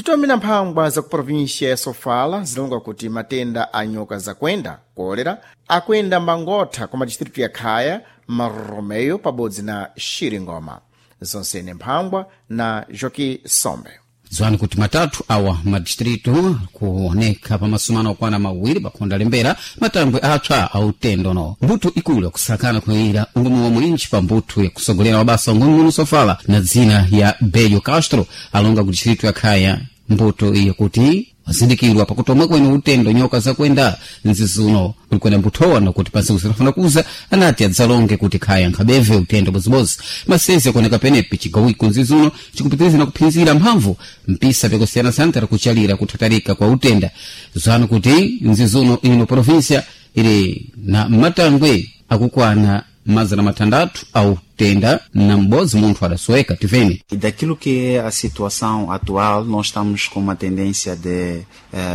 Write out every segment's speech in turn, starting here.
Titomera mphangwa za ku província ya Sofala zilonga kuti matenda a nyoka zakwenda kolera akwenda mbangotha ku madistritu ya Khaya, Marromeu pabodzi na Xiringoma. Zonsene mphangwa na Joki Sombe. Dziwani kuti matatu awa madistritu kuoneka pa masumano okwana mawiri pakhonda lembera matangwe apsa autendo no mbuto ikulu yakusakana kuyira ungumu wa mwinji pa mbuto yakusogolera mabasa ungumi sofala na dzina ya Belio Castro alonga ku distritu ya Khaya mbuto iyo kuti wazindikirwa pakutomwe kwene utendo nyoka zakwenda nzizuno kulikwena mbuthowa nakuti pansi kusirafuna kuza anati adzalonge kuti khaya nkhabeve utendo bozibozi masezi akuoneka penepi cigawiko nzizuno cikupitiriza na kuphinzira mphamvu mpisa pyakusiyanasiyana tara kuchalira kuthatarika kwa utenda zanu kuti nzizuno ino província ili na matangwe akukwana 600 au tenda na m'bodzi munthu adasoweka tiveni. E daquilo que é a situação atual, nós estamos com uma tendência de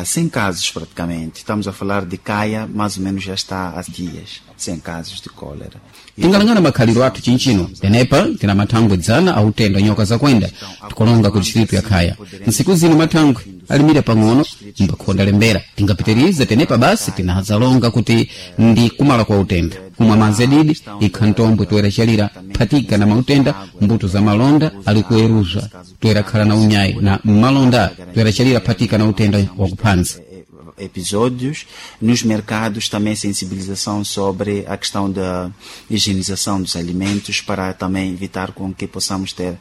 100 casos praticamente. Estamos a falar de Caia, mais ou menos já está há dias, 100 casos de cólera. Tingalangana makhaliro athu chinchino tenepa tina mathangwe dzana autenda nyoka zakwenda tikolonga ku distritu ya Khaya ntsiku zino mathangwe alimira pang'ono mbakhonda lembera tingapitirize tenepa basi tinazalonga kuti ndi kumala kwa utenda kumwa madzi adidi ikha ntombwe toera chalira phatika na mautenda mbuto za malonda ali kueruzwa toera khala na unyayi na malonda toera chalira phatika na utenda wakuphanza. Episódios nos mercados, também sensibilização sobre a questão da higienização dos alimentos para também evitar com que possamos ter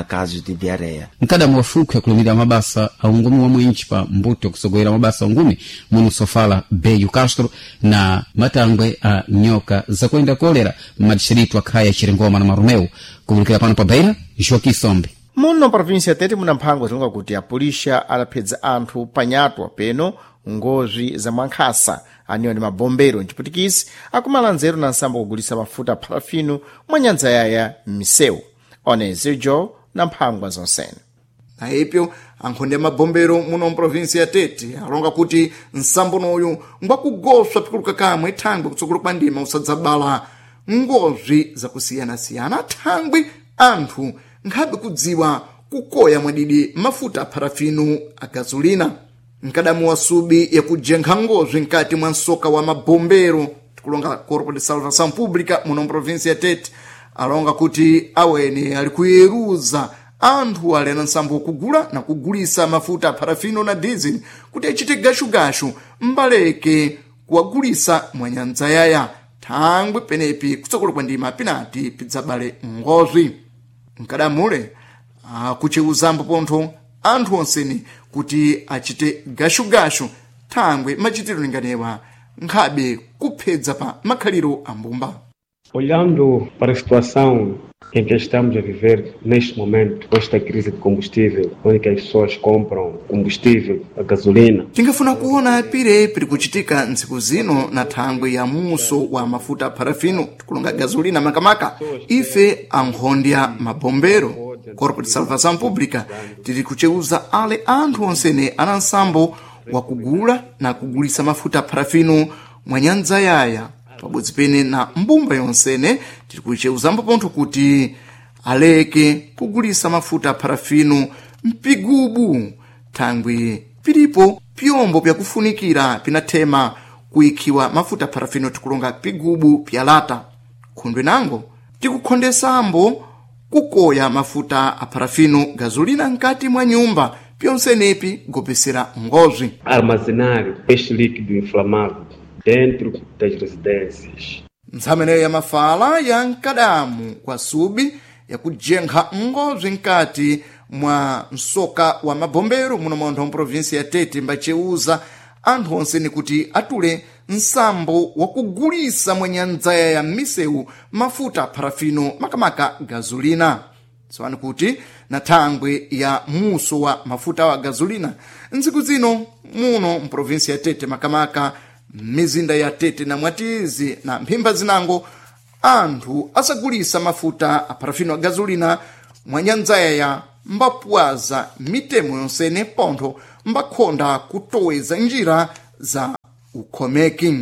casos de diarreia. Mkadamu wa fuku yakulumira mabasa aungumi wa mwinchi pa mbuto yakusogolera mabasa aungumi muno sofala Beyu Castro na matangwe a nyoka zakwenda kolera madistritu akhaya Chiringoma na Marumeu. Kuvulikira pano pa Beira, Joaquim Sombe. Muno província Tete muna mphangwa zilonga kuti apulisha adaphedza anthu panyatwa peno ngozwi za mwankhasa aniwa ndi mabombero mchiputikisi akumala nzeru na nsambo kugulisa mafuta a parafino mwa nyanja yaya m'misewu. Onezijo na mphangwa zonsene. Na ipyo ankhonde mabombero muno mprovinsi ya Tete alonga kuti nsambonoyu ngwakugoswa pikuluka kamwe thangwi kutsogolo kwa ndima usadzabala ngozwi zakusiyanasiyana thangwi anthu nkhabe kudziwa kukoya mwadidi mafuta a parafino a gasolina. Mkadamu wa subi yakujenkha ngozwi nkati mwa msoka wa mabombero tikulonga Corpo de Salvação Pública muno mprovinsi ya Tete alonga kuti aweni ali kuyeruza anthu ali na nsambo wokugula na kugulisa mafuta a parafino na diesel kuti achite gashugashu mbaleke kuwagulisa mwa nyanja yaya thangwi penepi kutsogolo kwa ndima pinati pidzabale ngozwi. Mkadamule akucheuzambo pontho anthu onseni kuti achite gashugashu thangwi machitiro linganewa nkhabe kuphedza pa makhaliro a mbumba. Olhando para a situação em que estamos a viver neste momento, com esta crise de combustível, onde que as pessoas compram combustível, a gasolina. Tingafuna kuona pire piri kuchitika ntsiku zino na thangwi ya muso wa mafuta a parafino tikulonga gasolina makamaka ife ankhondya mabombero Corpo de Salvação Pública tiri kucheuza ale anthu onsene ana nsambo wakugula na kugulisa mafuta a parafino mwa nyanja yaya pabodzi pene na mbumba yonsene tiri kucheuzambo pontho kuti aleke kugulisa mafuta a parafino mpigubu thangwi pilipo pyombo pyakufunikira pinathema kuyikhiwa mafuta a parafino tikulonga pigubu pyalata. Khundwe nango tikukhondesambo kukoya mafuta a parafino gasolina nkati mwa nyumba pyonsenepi gopesera ngozwi. Armazenar este líquido inflamável dentro das residências. Ntsameneyo ya mafala ya mkadamu kwa subi yakujenkha ngozwi nkati mwa msoka wa mabombero muno montho mprovinsi ya Tete mbacheuza anthu onseni kuti atule nsambo wakugulisa mwa nyandzaya ya misewu mafuta a parafino makamaka gasolina. Tsopano kuti na thangwi ya muso wa mafuta wa gasolina ntsiku zino muno mprovinsi ya Tete makamaka mizinda ya Tete na Mwatizi na mphimba zinango anthu asagulisa mafuta a parafino a gasolina mwa nyandzaya ya mbapwaza mitemo yonsene pontho mbakhonda kutoweza njira za ukhomeki.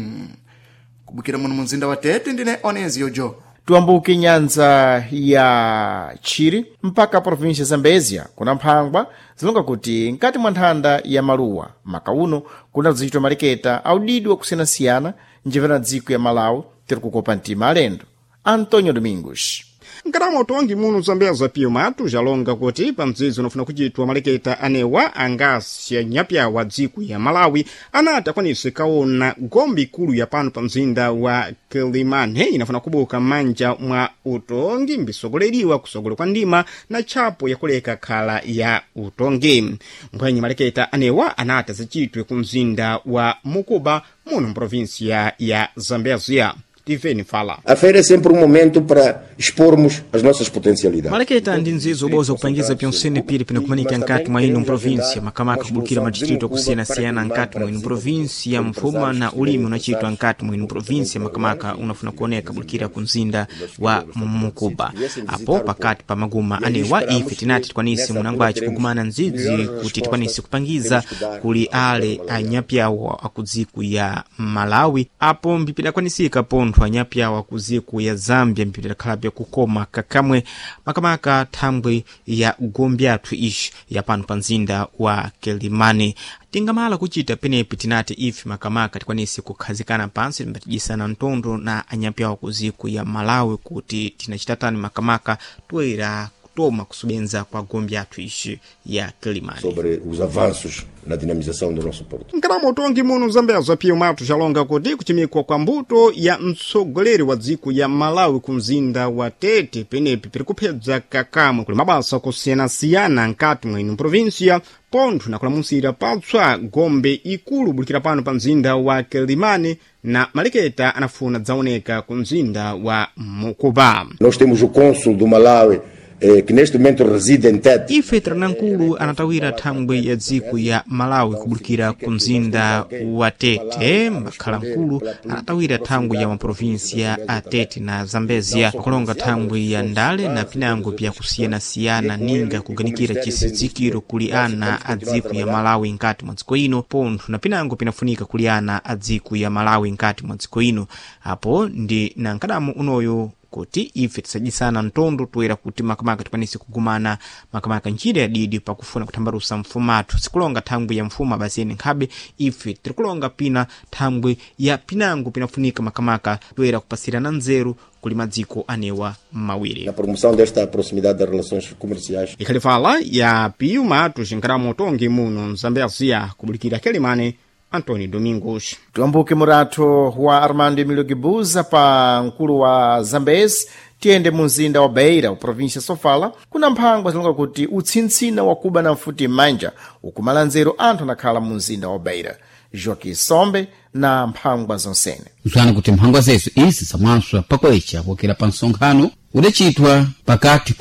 Kubukira muno munzinda wa Tete ndine Oneziyo Jo. Tuambuke nyanza ya Chiri mpaka província Zambezia kuna mphangwa zilonga kuti nkati mwa nthanda ya maluwa maka uno kuna zichitwa maleketa audidwa kusiyanasiyana njivena dziko ya Malawi tiri kukopa mtima alendo. Antonio Domingos. Nkarama utongi muno zambeza pio matu jalonga kuti pamdzidzi unafuna kuchitwa maleketa anewa angasi nyapya wa dziko ya Malawi anati akwanise kaona gombe ikulu ya pano pa mzinda wa Kilimane inafuna kubuka manja mwa utongi mbisogoleriwa kusogolo kwa ndima na tchapo yakuleka khala ya utongi. Mbwenye maleketa anewa anati azichitwe ku mzinda wa Mukuba muno mprovinsia ya Zambezia. Tiveni fala. A feira é sempre momento para expormos as nossas potencialidades. Maleketa ndi nzizo uboza kupangiza pyonsene pili pinakumanika nkati mwa ino mprovinsia makamaka kubukira madistrito akusiyana-siyana nkati mwa ino provinsia mfuma na ulimi unachitwa nkati mwa ino provinsia makamaka unafuna kuoneka bulukira ku mzinda wa Mukuba. Apo pakati pa maguma anewa ife tinati tikwanise munangwaci kugumana nzidzi kuti tikwanise kupangiza kuli ale anyapyawo akudziku ya Malawi apo mbipidakwanisika pontho anyapyawo akudziku ya Zambia mbipidakhalapya kukoma kakamwe makamaka thambwe ya gombe athu ishi ya pano pa mzinda wa Kilimani. Tingamala kuchita penepi tinati ife makamaka tikwanise kukhazikana pansi timbatijisana mtondo na anyapyawo kuziku ya Malawi kuti tinachitatani makamaka toera kutoma kusubenza kwa gombe athu ishi ya Kilimani. Sobre os avanços na dinamização do nosso porto. Nkarama utongi muno zambeza pio matu jalonga kuti kuchimikwa kwa mbuto ya mtsogoleri wa dziko ya Malawi ku mzinda wa Tete penepi piri kuphedza kakamwe kuli mabasa kusiyanasiyana nkati mwa ino provinsia pontho nakulamusira patswa gombe ikulu bulikira pano pa mzinda wa Kilimani na maleketa anafuna dzaoneka ku mzinda wa Mukuba. Nós temos o cônsul do Malawi que neste momento reside em Tete. Ife Tranankulu anatawira thambwe ya dziko ya Malawi kubulukira ku mzinda wa Tete. Makhalamkulu anatawira thambwe ya maprovinsia a Tete na Zambezia akulonga thambwe ya ndale na pinango pyakusiyanasiyana ninga kuganikira chisidzikiro kuli ana a dziko ya Malawi nkati mwa dziko ino pontho na pinango pinafunika kuli ana a dziko ya Malawi nkati mwa dziko ino. Apo ndi na nkadamu unoyo kuti ife tisajisana mtondo toera kuti makamaka tikwanise kugumana makamaka njira yadidi pakufuna kuthambalusa mfumathu. Sikulonga thambwe ya mfuma basi ene nkhabe ife tirikulonga pina thambwe ya pinango pinafunika makamaka toera kupasirana nzeru kuli madziko anewa mawiri. Na promoção desta proximidade das relações comerciais. Ikhali fala ya Pio Matos nkarama utongi muno Mzambezia kubulikira Kilimani. Antônio Domingos. Tuambuke muratho wa Armando Emílio Guibuza pa mkulu wa Zambezi tiyende mu mzinda wa Beira, província Sofala, kuna mphangwa zilonga kuti utsintsina wakuba na mfuti m'manja ukumala nzeru anthu anakhala mu mzinda wa Beira. Joaquim Sombe na mphangwa zonsene. Mzwana kuti mphangwa zezo izi zamwanswa pakoecha kuokera pa msonkhano udachitwa pakati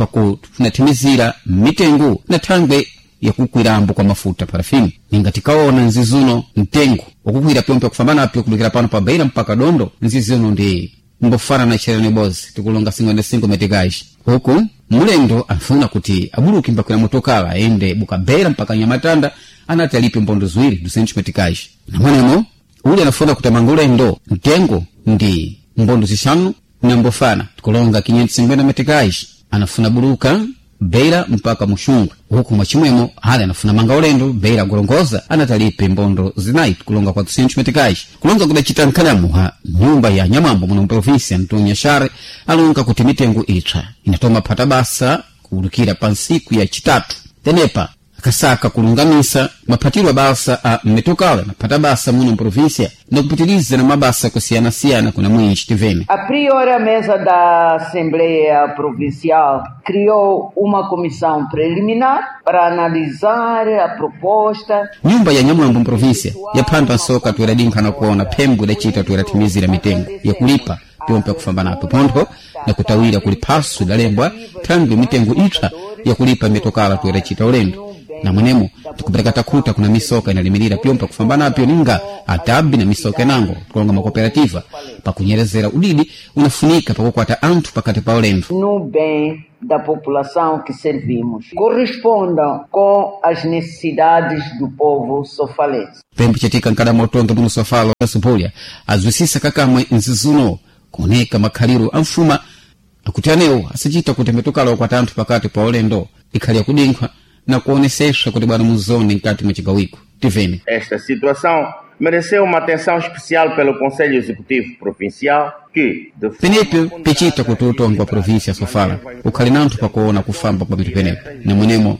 pakufunatthimizira mitengo na thangwe yakukwirambo kwa mafuta parafini. Ninga tikaona nzizuno mtengo wakukwira pyompe kufambanapyo kulukira pano pa Beira mpaka Dondo nzizuno ndi mbofana na chereni bozi tikulonga 55 meticais. Huku mulendo afuna kuti abuluki mbakwira motokala aende buka Beira mpaka Nyamatanda anati alipe mbondo ziwiri 200 meticais. Namwenemo uli anafuna kuti amange ulendo mtengo ndi mbondo zixanu na mbofana tikulonga 550 meticais anafuna buluka Beira mpaka Muxungwe. Huku mwachimwemo ali anafuna manga ulendo Beira Gorongosa anatalipe mbondo zinayi kulonga 400 meticais. Kulonga kudacita nkhalamu ha nyumba ya Nyamambo muno mprovinsia Antonio Share alonga kuti mitengo itswa inatoma phata basa kuwulukira pa nsiku ya chitatu. Tenepa akasaka kulungamisa maphatiro abasa a mmetokala naphata basa muno mprovinsia na kupitiliza na mabasa kusiyanasiyana kuna mwinji tivene. A priori, a mesa da Assembleia Provincial criou uma comissão preliminar para analisar a proposta. Nyumba ya Nyamwambo mprovinsia yaphandwa nsoka tuiradinkha kuona phembwe idacita tuirathimizira mitengo yakulipa pyompe kufambanapo pontho na kutawira kuli phaso idalembwa thangwi mitengo ipsa yakulipa mitokala tuiracita ulendo. Na mwenemo tikupereka takhuta kuna misoka inalimirira pyompa kufambanapyo ninga atabi na misoka inango kulonga makooperativa pakunyerezera udidi unafunika pakukwata anthu pakati pa ulendo. No bem da população que servimos, correspondam com as necessidades do povo sofalense. Pembe chatika nkadama utonga muno Sofala Sumpulya azwisisa kakamwe nzizuno kuoneka makhaliro a mfuma Akuti anewo asachita kuti mitukala ukwata anthu pakati pa ulendo ikhali yakudinkhwa na kuoneseswa kuti bwana muzone mkati mwa chigawiko. Tivene. Esta situação mereceu uma atenção especial pelo Conselho Executivo Provincial que, de Penepyo pichita kuti utongo wa província sofala ukhali nanthu pakuona kufamba kwa mitu penepo, namwenemo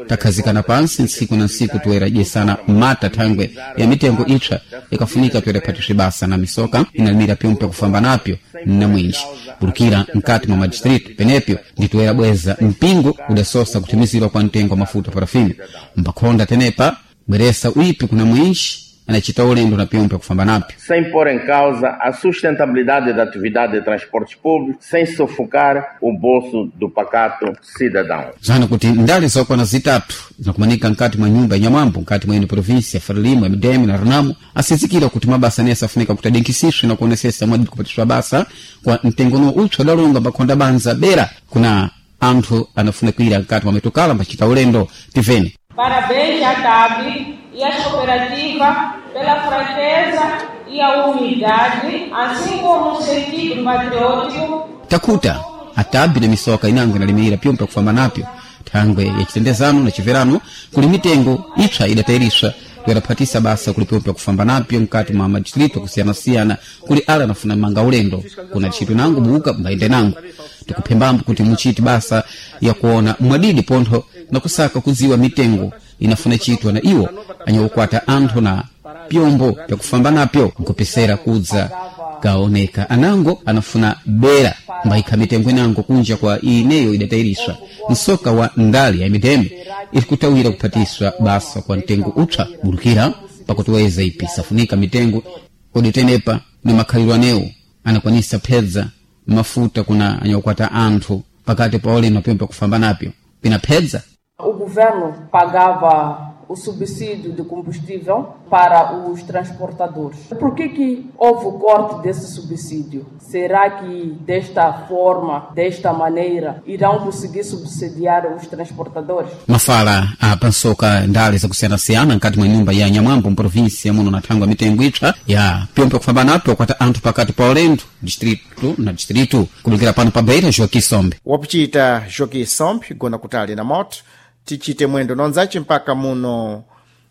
takhazikana pansi ntsiku na ntsiku toera dyesana mata thangwe ya mitengo ipsa ikafunika toera phatiswe basa na misoka inalimira pyompe kufamba napyo na mwinji bulukira mkati mwa madistritu. Penepyo nditoera bweza mpingo udasosa kuthimizirwa kwa mtengo wa mafuta parafini mbakhonda tenepa bweresa uipi kuna mwinji anachita ulendo na pyompe kufamba napyo sem pôr em causa a sustentabilidade da atividade de transportes públicos, sem sufocar o bolso do pacato cidadão. Zana kuti ndale zokwana zitatu zinakumanika nkati mwa nyumba ya Nyamwambo nkati mwa ino província Frelimo, MDM na Renamo asizikira kuti mabasa nese afunika kuti adinkisiswe na kuonesesa mwadi kupatiswa basa kwa mtengono utso dalonga mbakhonda banza bera kuna anthu anafuna kuira nkati mwa mitukala mbachita ulendo. Tivene. Parabéns à TAB e às cooperativas pela franqueza e a humildade, assim como o sentido patriótico. Takuta atabi na misoka inango inalimira pyompe kufamba napyo thangwe ya chitendezano na chiverano kuli mitengo ipsa idatairiswa toeraphatisa basa kuli pyompe kufamba napyo mkati mwa madistrito kusiyanasiyana kuli ala anafuna manga ulendo kuna tchito nango buka mbayende nango tikuphembambo kuti muchiti basa ya kuona mwadidi pontho na kusaka kudziwa mitengo inafuna chitwa na iwo anyakukwata anthu na pyombo pyakufamba napyo nkupesera kudza kaoneka anango anafuna bera mbayikha mitengo inango kunja kwa ineyo idatairiswa. Msoka wa ndali ya mideme ilikutawira kuphatiswa basa kwa mtengo upsa bulukira pakutuweza ipi safunika mitengo kodi tenepa ni makhalidwe anewo anakwanisa phedza mafuta kuna anyakukwata anthu pakati pa ulendo pyompe kufamba napyo pina phedza. O governo pagava o subsídio de combustível para os transportadores. Por que que houve o corte desse subsídio? Será que desta forma, desta maneira, irão conseguir subsidiar os transportadores? Mafala apansoka ndale zakusiyanasiyana nkati mwa nyumba ya Nyamwambo mprovinsia muno na thangwa mitengo ipsa ya pyompe kufamba napyo kwata anthu pakati pa ulendo distritu na distritu kubulukira pano pa Beira. Joaquim Sombe. Wapuchita Joaquim Sombe gona kutali na moto tichite mwendo nonzace mpaka muno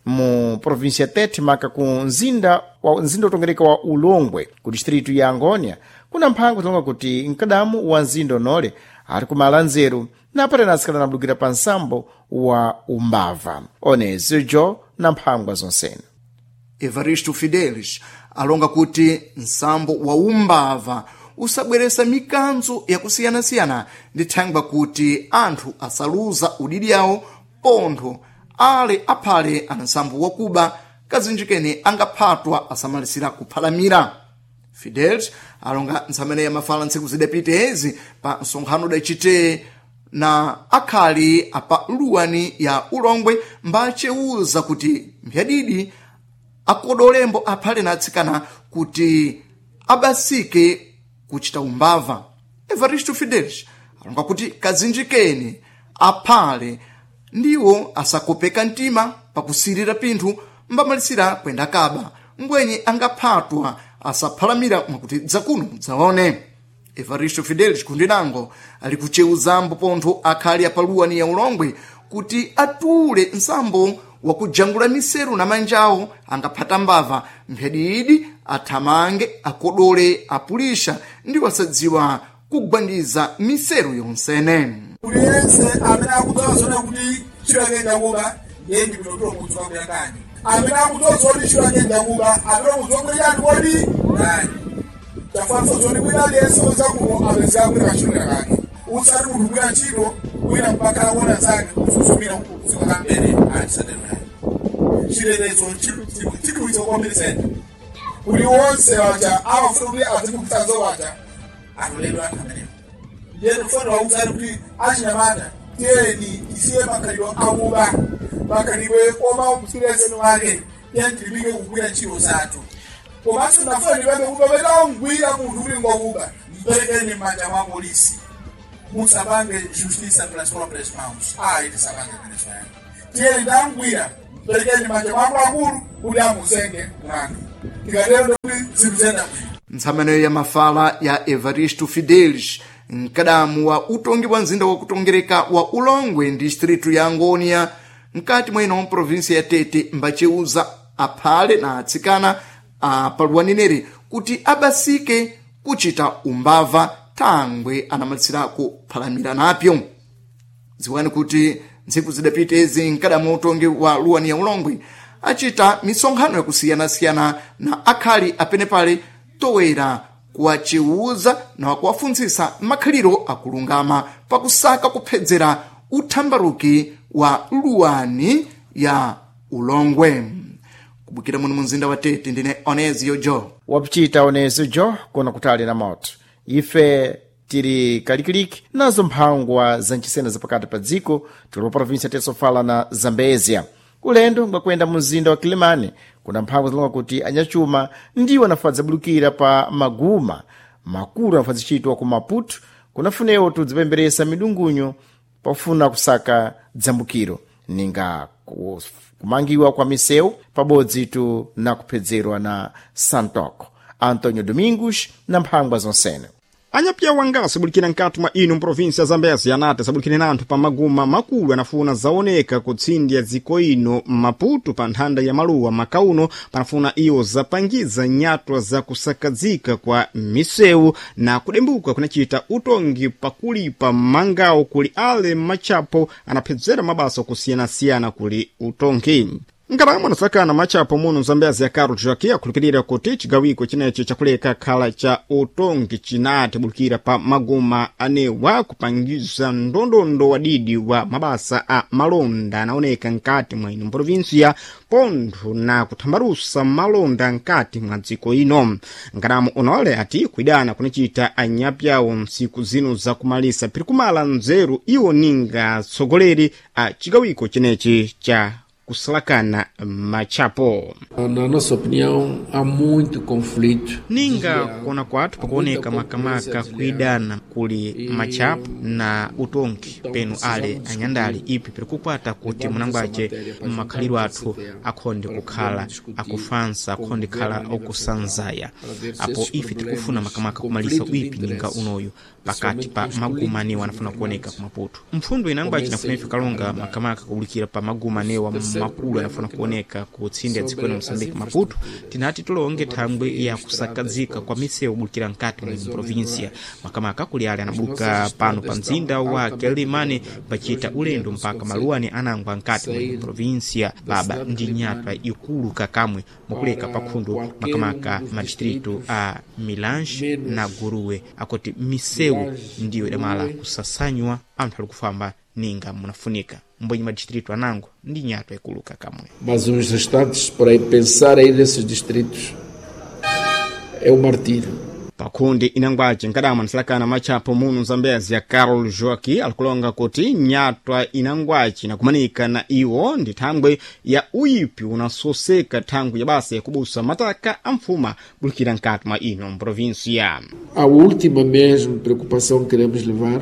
mu província Tete maka ku mzinda wa mzinda utongereka wa Ulongwe ku distritu ya Angônia kuna mphango zilonga kuti mkadamu wa mzinda onole ali kumala nzeru napatena asikana nabulukira pa nsambo wa umbava one zijo na mphangwa zonsene. Evaristo Fidelis alonga kuti nsambo wa umbava usabweresa mikanzo yakusiyanasiyana ndi thangwa kuti anthu asaluza udidi yawo pontho ale aphale ana nsambo wakuba kazinjikene angaphatwa asamalisira kuphalamira. Fidelis alonga ntsamene yamafala ntsiku zidapita ezi pa msonkhano udachite na akhali apa luwani ya Ulongwe mbachewuza kuti mphadidi akodolembo aphale na atsikana kuti abasike kuchita umbava. Evaristo Fidelis alonga kuti kazinjikeni aphale ndiwo asakopeka mtima pakusirira pinthu mbamalisira kwenda kaba mbwenye angaphatwa asaphalamira mwakuti dzakuno mudzaone. Evaristo Fidelis kundinango ali kucheuzambo pontho akhali apaluwani ya Ulongwe kuti atule nsambo wakujangula miseru na manjawo angaphata mbava mphadidi athamange akodole apulisha ndi wasadziwa kugwandiza miseru yonsene. Uliyense amene akudziwa zone kuti ntchito yake njakuba ndiye ndi kutotola mudzi wako yakani amene akudziwa zoti ntchito yake njakuba amene mudzi wako yani kodi nani tafanso zoti wina aliyense woza kuno apezeka kuti kantchito kake usati munthu kugwira ntchito wina mpaka akuona zake kususumira kudziko kambere alisatero yani chilerezo chikuwitsa kwambiri kuti wonse waja amafuna kuti azikupitsanzo waja atoledwa anthu amenewo ndiye tikufanira kuwuzani kuti achinyamata tiyeni tisiye makhalidwe akuba makhalidwe koma msirezeni wake tiyeni tilipike kugwira ntchito zathu komanso ndafuna ndipembe kuti pamene wamgwira munthu kuti ngwakuba mperekeni m'manja mwa polisi musapange justiça pelas próprias mãos. Ayi tisapange zimenezo yani tiyeni ndamgwira mperekeni m'manja mwa akuluakulu kuti amuzenge mlandu tikatero ndikuti zinthu ziyenda bwino. Ntsamanoyo ya mafala ya Evaristo Fidelis mkadamu wa utongi wa mzinda wakutongereka wa ulongwe distritu ya angonia mkati mweno provinsi ya tete mbaceuza aphale na atsikana apaluwanineri kuti abasike kuchita umbava thangwe anamalisirako phalamira napyo. Dziwani kuti ntsiku zidapita izi mkadamu wa utongi wa luwani ya ulongwe achita misonkhano yakusiyanasiyana na akhali apenepale towera kuwaciwuza na kuwafuntsisa makhaliro akulungama pakusaka kuphedzera uthambaruki wa luwani ya ulongwe. Kubukira muno mumzinda wa Tete, ndine Onezio Jo. Wapichita Onezio Jo kuona kutali na moto. Ife tiri kalikiliki nazo mphangwa za ncisena zapakati pa dziko tili pa provinsi ya Tesofala na Zambezia. Ulendo ngwakuyenda mumzinda wa Kilimani kuna mphangwa zilonga kuti anyachuma ndiwo anafadza bulukira pa maguma makulu anafadzicitwa ku Maputo kunafunewo tudzipemberesa midungunyo pofuna kusaka dzambukiro ninga kumangiwa kwa misewu pabodzi tu na kuphedzerwa na Santoko. Antonio Domingos na mphangwa zonsene. Anyapya wanga sabulikira nkati mwa ino mprovinsi ya Zambezi anati sabulikire na anthu pa maguma makulu anafuna zaoneka kutsindya dziko ino Maputo pa nthanda ya maluwa makauno panafuna iwo zapangiza nyatwa za kusakazika kwa misewu na kudembuka kunachita utongi pakulipa mangawo kuli ale machapo anaphedzera mabasa okusiyanasiyana kuli utongi. Nkalamo anasakana machapo muno Zambezi ya Carlos Joaquim akhulupirira kuti chigawiko chinechi chakuleka khala cha utongi chinati bulukira pa maguma anewa kupangiza ndondondo wadidi wa mabasa a malonda anaoneka nkati mwa ino provinsia pontho na kuthambalusa malonda nkati mwa dziko ino. Nkalamo unole ati kuidana kunachita anyapyawo ntsiku zino zakumalisa piri kumala nzeru iwo ninga atsogoleri a chigawiko chinechi cha kusalakana machapo. Na nossa opinião, há muito conflito. Ninga kuona kwathu pakuoneka makamaka kuidana kuli machapo na utongi penu ale anyandali ipi piri kukwata kuti munangwace makhaliro athu akhonde kukhala akufansa, akhonde khala okusanzaya. Apo ife tikufuna makamaka kumalisa uipi ninga unoyu pakati pa maguma anewa anafuna kuoneka ku Maputo. Mpfundo inangwace inafuna ife kalonga makamaka kubulikira pa maguma anewa makulu anafuna kuoneka kutsinde ya dziko la Moçambique Maputo, tinati tulonge thangwe ya kusakazika kwa misewu bulikira nkati mu provinsia makamaka kuli ale anabuluka pano pa mzinda wa Quelimane pachita ulendo mpaka maluwani anangwa nkati mu provinsia baba ndi nyatwa ikulu kakamwe mukuleka pakhundu makamaka madistritu a Milange na Guruwe akoti misewu ndiyo idamala kusasanywa anthu ali kufamba ninga munafunika mbwenye madistritu anango ndi nyatwa ikuluka kamwe. Mas os restantes, por aí, pensar aí nesses distritos é um martírio. Pakundi inangwace nkadama anasalakana machapo muno Zambezi ya Carol Joaqui alikulonga kuti nyatwa inangwace inakumanika na iwo ndi thangwe ya uyipi unasoseka thangwe ya basa yakubusa mataka a mfuma bulikira nkati mwa ino mprovinsia. A última mesmo preocupação que queremos levar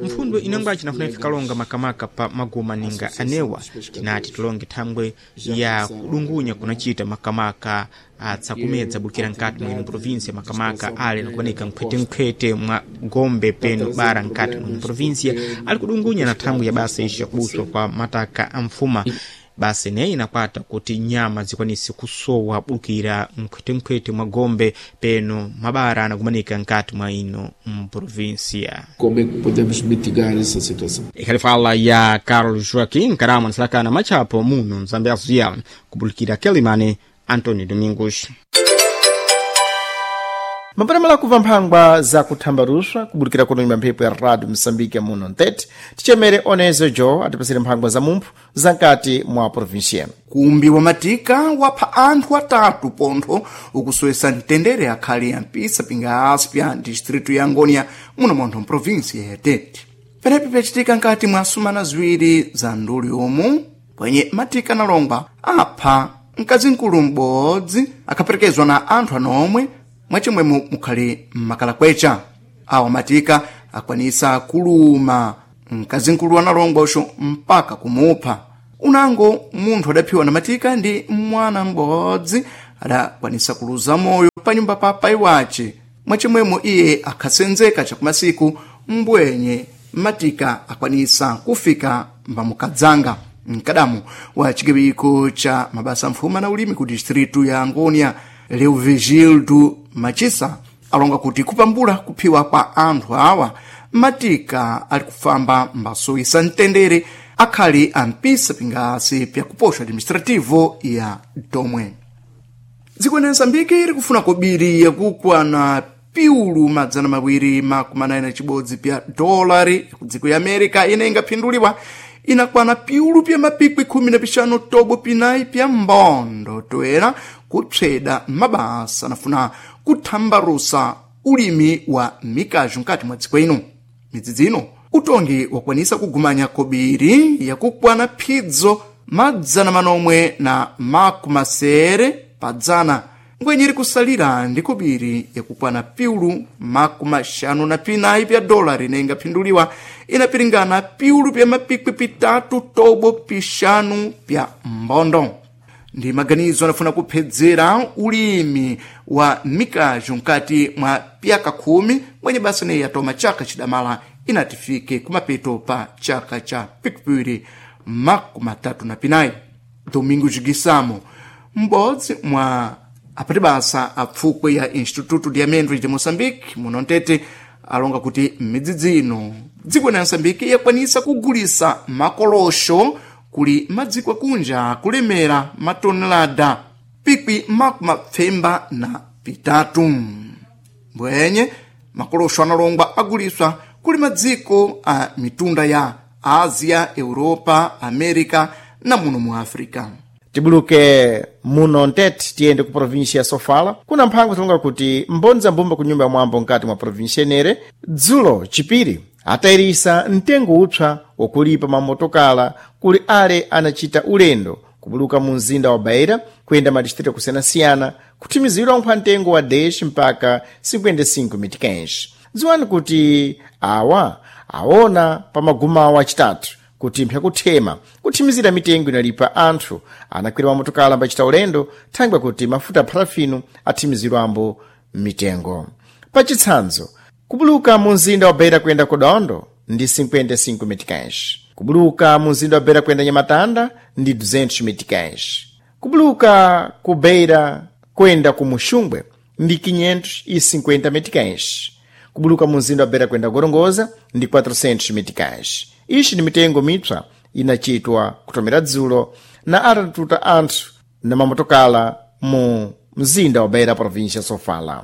Mfundo inangwace inafuna ife kalonga makamaka pa maguma ninga anewa tinati tulonge thangwe ya kudungunya kunachita makamaka atsakumedza bukira nkati mwino provinsia makamaka ale nakubanika nkhwetenkhwete mwa gombe peno bara nkati mwino provinsia ali kudungunya na thangwi ya basa ici yakubuswa kwa mataka a mfuma basi neyi inakwata kuti nyama zikwanise kusowa bukira nkhwetenkhwete mwa gombe peno mabara anakumanika nkati mwa ino mprovinsia. Como é que podemos mitigar essa situação? Ikhali fala ya Carlos Joaquim nkarama anasalakana machapo muno Mzambezia kubulikira Quelimane. Antonio Domingos. Mapatamala kuva mphangwa za kuthambaruswa kubulikira kuno nyumba mphepo ya Radio Moçambique muno ntete tichemere Onezo Jo atipasire mphangwa za mumphu za nkati mwa provinsia. Kumbi wa matika wapha anthu atatu pontho ukusowesa mtendere akhali ya mpisa pinga aspya distritu ya Angonia muno montho mprovinsia ya Tete. Penepi pyacitika nkati mwa sumana ziwiri za nduli umu pwenye matika analongwa apha mkazimkulu m'bodzi akhaperekezwa na anthu anomwe mwachimwemo mukhali mmakalakwecha. Awa matika akwanisa kuluma mkazimkulu analongwa uxo mpaka kumupha. Unango munthu adaphiwa na matika ndi mwana m'bodzi adakwanisa kuluza moyo pa nyumba pa pai wace mwachimwemo iye akhasenzeka chakumasiku Mbwenye matika akwanisa kufika mbamukadzanga. Mkadamu wa chigawiko cha mabasa mfuma na ulimi ku distritu ya Angonia, Leovigildo Machisa, alonga kuti kupambula kuphiwa kwa anthu awa, matika ali kufamba mbasoyisa mtendere akhali ampisa pingasi pyakuposha administrativo ya Domwe. Dziko la Msambiki iri kufuna kobiri yakukwana piulu 291 pya dolari ku dziko ya America ine ingaphinduliwa inakwana piulu pya mapikwi 15 tobo pinayi pya mbondo toera kupsweda mabasa anafuna kuthambarusa ulimi wa mikajo mkati mwa dziko ino. Midzidzi ino utongi wakwanisa kugumanya kobiri yakukwana phidzo 770 pa ngwenye iri kusalira ndi kobiri yakukwana piulu 54 pya dolari ine ingaphinduliwa inapiringana piulu pya mapikwi 3 tobo 5 pya mbondo. Ndi maganizo anafuna kuphedzera ulimi wa mikajo mkati mwa pyaka 10 mwenye basa neyi yatoma chaka chidamala inatifike kumapeto pa chaka cha pikipiri 34. Domingo Gisamo, m'bodzi mwa apati basa apfukwe ya Instituto de Amêndoas de Moçambique muno Ntete, alonga kuti m'midzidzi ino dziko la Moçambique yakwanisa kugulisa makolosho kuli madziko akunja kulemera matonelada pikwi 53. Mbwenye makolosho analongwa aguliswa kuli madziko a mitunda ya Ásia, Europa, América na muno mu África. Tibuluke muno Ntete tiyende ku província ya Sofala. Kuna mphango tilonga kuti mbondza mbumba ku nyumba ya mwambo mkati mwa província enere dzulo chipiri atayirisa mtengo upsa wakulipa mamotokala kuli ale anachita ulendo kubuluka mu mzinda wa Beira kuyenda madistritu akusiyanasiyana kuthimizidwa nkhwa mtengo wa 10 mpaka 55 meticães. Dziwani kuti awa aona pa magumawo achitatu kuti mpyakuthema kuthimizira mitengo inalipa anthu anakwera mamotokala ambachita ulendo thangwe kuti mafuta a pharafino athimizirwambo mitengo. Pachitsanzo, kubuluka mu mzinda wa Beira kuyenda ku Dondo ndi 55 meticães, kubuluka mu mzinda wa Beira kuyenda Nyamatanda ndi 200 meticães, kubuluka ku Beira kuyenda ku Muxumbwe ndi 550 meticães, kubuluka mu mzinda wa Beira kuyenda Gorongosa ndi 400 meticães. Ixi ni mitengo mipsa inachitwa kutomera dzulo na atatuta anthu na mamotokala mu mzinda wa Beira, província Sofala.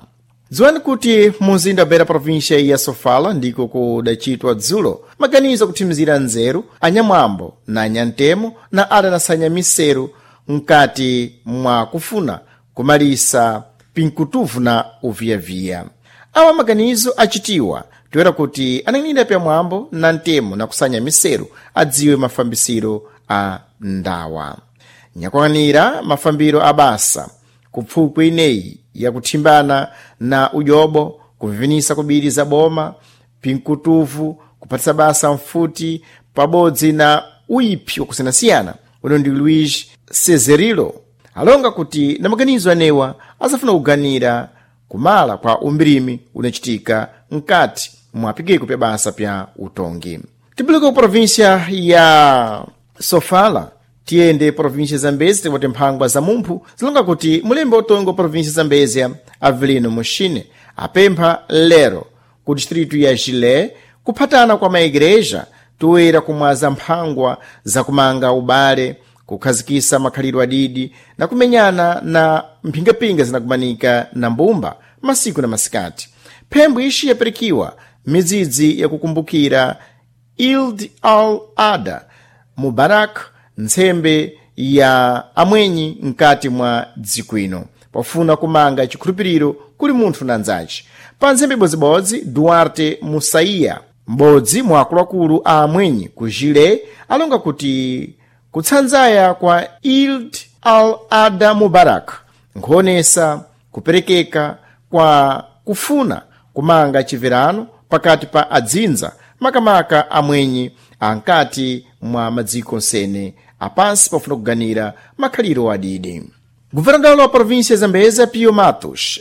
Dziwani kuti mu mzinda wa Beira, província ya Sofala, ndiko kudachitwa dzulo maganizo akuthimizira nzeru anyamwambo na anyantemo na adanasanya miseru mkati mwa kufuna kumalisa pinkutuvu na uviyaviya. Awa maganizo achitiwa toera kuti ananena pamwambo na ntemo na kusanya miseru adziwe mafambisiro a ndawa nyakwanira mafambiro a basa kupfukwe ineyi yakuthimbana na ujobo, kuvivinisa kubiri za boma pinkutuvu, kupatisa basa mfuti pabodzi na uiphi wakusiyanasiyana. Uno ndi Luis Cezerilo alonga kuti na maganizo anewa azafuna kuganira kumala kwa umbirimi unachitika mkati mwa pikiko pya basa pya utongi. Tibuluka ku província ya Sofala tiyende província Zambezi tikuti mphangwa za mumphu zilonga kuti mulembe utongi wa província Zambezia Avelino Muxine apempha lero ku distritu ya Gilé kuphatana kwa maigreja toera kumwaza mphangwa zakumanga ubale, kukhazikisa makhalidwe adidi na kumenyana na mphingapinga zinakumanika na mbumba masiku na masikati. Phembo ixi yapirikiwa midzidzi yakukumbukira Eid al-Adha Mubarak, ntsembe ya amwenyi mkati mwa dziko ino pofuna kumanga chikhulupiriro kuli munthu na nzace. Pa ntsembe ibodzibodzi, Duarte Musaiya, m'bodzi mwa akuluakulu a amwenyi ku Gilé, alonga kuti kutsanzaya kwa Eid al-Adha Mubarak nkhuonesa kuperekeka kwa kufuna kumanga chimverano pakati pa adzinza makamaka amwenyi ankati mwa madziko nsene apansi pofuna kuganira makhaliro adidi. Governador wa província Zambeza Pio Matos